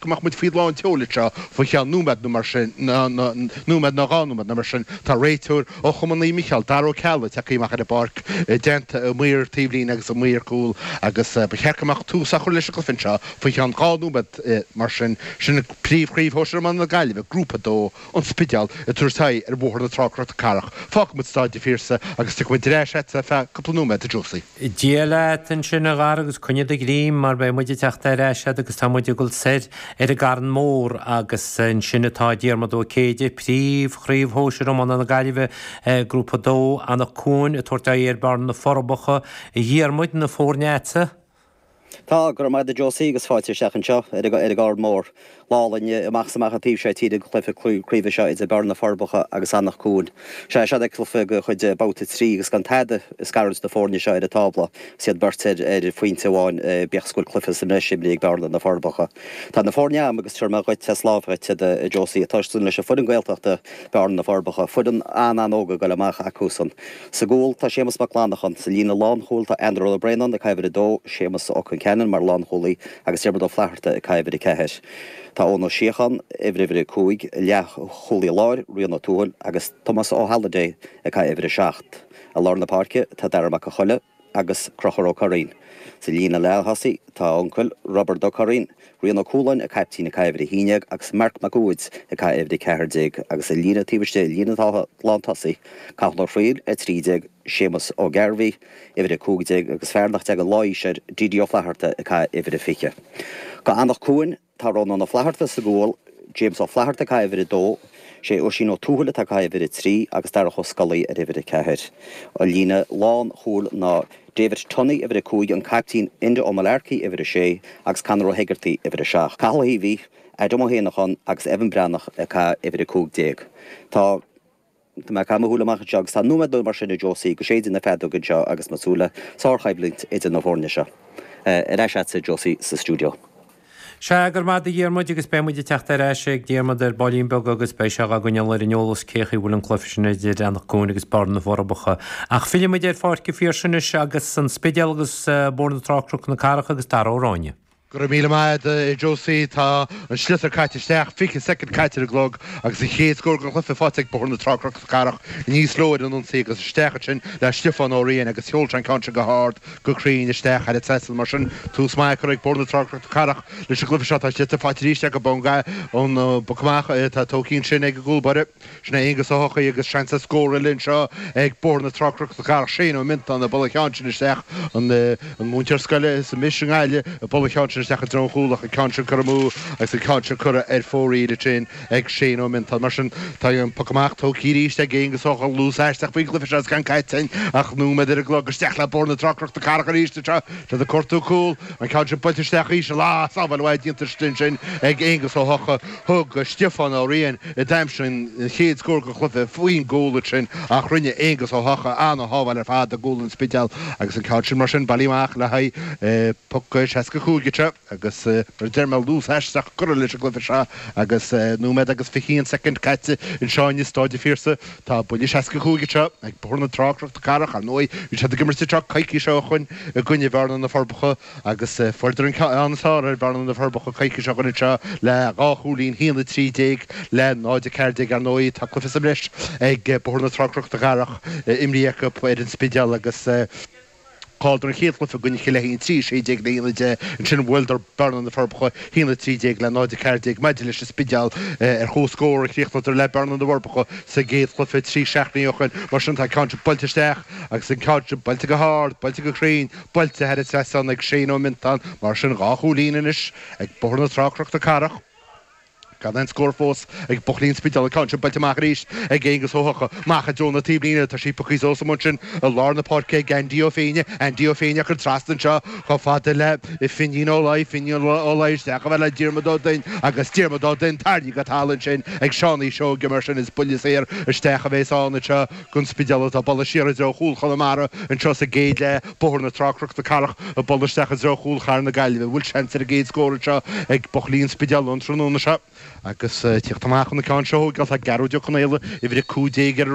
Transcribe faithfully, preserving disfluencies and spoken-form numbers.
go mbeadh muid faoi lán tseoil anseo faoi cheann nóiméad nó mar sin, nóiméad nó dhá nóiméad nó mar sin. Tá réiteoir ó Chumann Naomh Mícheál, Dara Ó Ceallaigh, tagtha amach ar an bpáirc i dteannta a mhaor taobhlíne agus a maor cúil agus ba cheart go mbeadh tús á chur leis an gcluiche anseo faoi cheann dhá nóiméad mar sin. Sin Príomhchraobh Shóisir Iomána na Gaillimhe, Grúpa a dó, An Spidéal, ag tabhairt aghaidh ar Bhóthar na Trá Cnoc na Cathrach. Fágfaidh muid Stáid an Phiarsaigh agus tiocfaidh muid ar ais agat ar feadh cúpla nóiméad, a Josie. Dia leat ansin a Dhara agus coinnigh do ghreim mar beidh muid ag teacht ar ais agat agus tá muid ag dul soir ar an gCarn Mór agus ansin atá Diarmuid Ó Céide, Príomh-Chraobh Shóisir Iomána na Gaillimhe, Grúpa a dó, Anach Cuain ag tabhairt aghaidh ar Bearna na Forbacha. A Dhiarmuid, na foirne agatsa? Tá, go raibh maith agat a Josie agus fáilte isteach anseo ar an gCarn Mór. Lá álainn amach is amach an taobh seo tíre don chluiche craoibhe seo idir Bearna na Forbacha agus Anach Cuain. Sea, seo é cluiche de chuid Babhta trí agus gan tada ag scarúint na foirne seo ar an tábla agus iad beirt ar phointe amháin bíodh is go bhfuil cluiche sa mbreis imrithe ag Bearna na Forbacha. Tá na foirne agam agus tabharfaidh mé dhuit as lámh dhuit iad a Josie. Tosóidh leis an foireann Gaeltachta Bearna na Forbacha, foireann an-an-óg ag dul amach acusan. Sa gcúl tá Séamus Mac Lannacháin, sa líne lánchúil tá Andrew Ó Braonáin ag caitheamh uimhir a dó, Séamus Ó Concheanainn mar lánchúlaí agus Diarmuid Ó Flatharta ag caitheamh uimhir a ceathair. Tá Eoin Ó Síocháin, uimhir uimhir a cúig, leathchúlaí láir, Rian Ó Tuathail agus Tomás Ó hAlliday ag caitheamh uimhir a seacht. I lár na páirce tá Dara Mac an Choille agus Conchúr Ó Curraoin. Sa líne leath-thosaigh tá a uncail, Roibeard Ó Curraoin, Rian Ó Cualáin, an caiptín ag caitheamh uimhir a haon déag agus Marc Mac Uaid ag caitheamh uimhir a ceathair déag agus sa líne taobh istigh, líne lántosaigh, Cathal Ó Fríl, a trí déag, Séamus Ó Gairbhí, uimhir a cúig déag agus fear nach dtagann lá aois air, D.D. Ó Flatharta ag caitheamh uimhir a fiche. Do Anach Cuain, tá Rónán Ó Flatharta sa gcúl, James Ó Flatharta ag caitheamh uimhir a dó, sé Oisín Ó Tuathail atá ag caitheamh uimhir a trí agus Darach Ó Scolaí ar uimhir a ceathair. An líne lán chúil ná David Tunney, uimhir a cúig, an caiptín Enda Ó Malarkey, uimhir a sé, agus Conor Ó hEigeartaigh, uimhir a seacht. Cathal Ó hÍomhaí, Adam Ó hÉanacháin agus Evan Breathnach ag caitheamh uimhir a cúig déag. Tá. Tá mé ag caitheamh mo shúile amach anseo agus tá nóiméad nó mar sin a Josie go séideadh na feadóige anseo agus mé ag súil le sárchoimhlint idir na foirne seo. Ar ais agatsa Josie sa stiúideo. Sea, go raibh maith agat a Dhiarmuid agus beidh muid ag teacht ar ais ag Diarmuid ar baillín beag agus beidh sé dhá gcoinneáil ar an eolas cé chaoi bhfuil an cluiche sin idir Anach Cuain agus Bearna na bhForbacha. Ach fillfidh muid ar Pháirc an Phiarsaigh anois agus an Spidéal agus Bóthar na Trá Cnoc na Cathrach agus Dara Ó Ráinne. Go raibh míle maith agat, a Josie. Tá an sliotar caite isteach, fiche soicind caite ar an gclog agus an chéad scór den chluiche faighte ag Bóthar na Trá Cnoc na Cathrach aníos leo ar an ionsaí agus isteach ansin le Stiofán Ó Riain agus sheol sé an ceann sin go hard, go cruinn isteach thar an trasnán. Mar sin, tús maith curtha ag Bóthar na Trá Cnoc na Cathrach leis an gcluiche seo. Tá sliotar faighte arís acu ón bpoc amach atá tógtha ansin ag an gcúl báire. Sin é Aonghus Ó hEochaidh agus seans ar scór eile anseo ag Bóthar na Trá Cnoc na Cathrach. Shane Ó Miontáin ag bualadh an cheann sin isteach, an múinteoir scoile is anois i nGaillimh ag bualadh an cheann sin isteach i dtreo an chúil ach an ceann sin curtha amú agus an ceann sin curtha ar fóraoil ansin ag Shane Ó Miontáin. Mar sin, tá an poc amach tógtha arís ag Aonghus Ó hEochaidh, luas aisteach faoin gcluiche seo agus gan caite againn ach nóiméad ar an gclog. Isteach le Bóthar na Trá Cnoc na Cathrach arís anseo. Siad ag cuartú cúl, an ceann sin buailte isteach íseal. Ah, sábháil mhaith déanta ansin ag Aonghus Ó hEochaidh. Thug Stiofán Ó Riain, a d'aimsigh an chéad scór den chluiche, faoin gcúl ansin ach rinne Aonghus Ó hEochaidh ana-shábháil ar fad i gcúl an Spidéil agus an ceann sin mar sin bailithe amach le haghaidh poc seasca cúig anseo agus mar a deir mé luas aisteach curtha leis an gcluiche seo agus nóiméad agus fiche haon soicind caite anseo in Staid an Phiarsaigh. Tá buille seasca cúig anseo ag Bóthar na Trá Cnoc na Cathrach. Ar ndóigh bhí siad ag imirt anseo coicís ó shoin i gcoinne Bhearna na Forbacha. Agus fuaireadar an ceann is fearr ar Bhearna na Forbacha coicís ó shoin anseo le dhá chúilín, a haon a trí déag le náid a ceathair déag. Ar ndóigh, tá cluiche sa mbreis ag Bóthar na Trá Cnoc na Cathrach imrithe acu ar an Spidéal agus chailleadar an chéad chluiche i gcoinne Chill Aithín trí a sé déag le haon a deich. Ansin bhuaileadar Bearna na Forbacha a haon a trí déag le náid a ceathair déag. Maidir leis an Spidéal, ar comhscór a chríochnaíodar le Bearna na bhForbacha sa gcéad chluiche trí seachtainí ó shoin. Mar sin, tá an ceann sin buailte isteach agus an ceann sin buailte go hard, buailte go cruinn. Buailte thar an trasnán ag Shane Ó Miontáin, mar sin dhá chúilín anois ag Bóthar na Trá Cnoc na Cathrach. Gan aon scór fós ag buachaillí an Spidéil. An ceann sin buailte amach arís ag Aonghus Ó hEochaidh. Amach i dtreo na taobhlíne. Tá sí pioctha suas amuigh ansin i lár na páirce ag Andy Ó Féinne. Andy Ó Féinne á cur trasna anseo chomh fada le Finín Ó Laoi. Finín Ó Laoi isteach chomh fada le Diarmuid Ó Duinn agus Diarmuid Ó Duinn tarraingthe go talamh ansin ag Seánie Seoige. Mar sin is buille saor isteach a bheas ann anseo don Spidéal atá ag bualadh siar i dtreo chúl Chonamara anseo sa gcéad leath. Bóthar na Trá Cnoc na Cathrach ag bualadh isteach i dtreo chúl chathair na Gaillimhe. Bhfuil seans ar an gcéad scór anseo ag buachaillí an Spidéil an tráthnóna seo? Agus tíocht amach chun an ceann seo a thógáil tá Gearóid Ó Conaola, uimhir a cúig déag ar an.